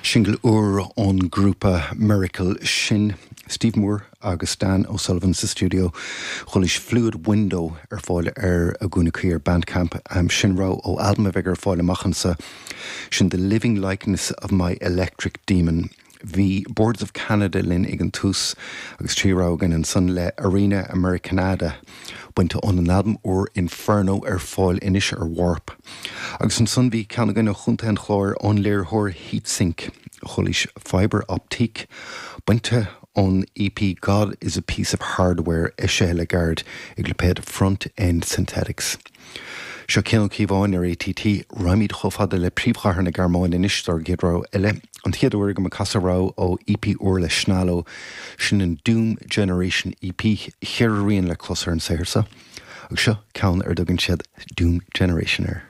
Singil úr ón ngrúpa Miracle sin Steve Moore agus Dan O'Sullivan sa stiúideo. Chualaís Fluid Window ar fáil ar a gcúnamh cuí ar Bandcamp. Sin rogha ó albam a bheidh ar fáil amach anseo. Sin The Living Likeness of My Electric Demon. Bhí Boards of Canada linn ag an tús agus 3 rogha againn ansan le Arena Americanada bainte óna n-albam úr Inferno ar fáil anois ar Warp. Agus ansan bhí ceann againn ó Chontae an Chláir ón léiritheoir Heatsink, chualaís Fibre Optique bainte ón EP God is a Piece of Hardware eisithe le gairid ag lipéad Front End Synthetics. Seo Cian Ó Cíobháin ar ATT. Raghaimid chomh fada le príomhchathair na Gearmáine anois dár gcéad rogha eile. An chéad uair agam ag casadh rogha ó EP úr le Shnalo, sin an Doom Generation EP, cheithre rian le clos ar an saothar seo. Agus seo ceann ar dtugann siad Doom Generation air.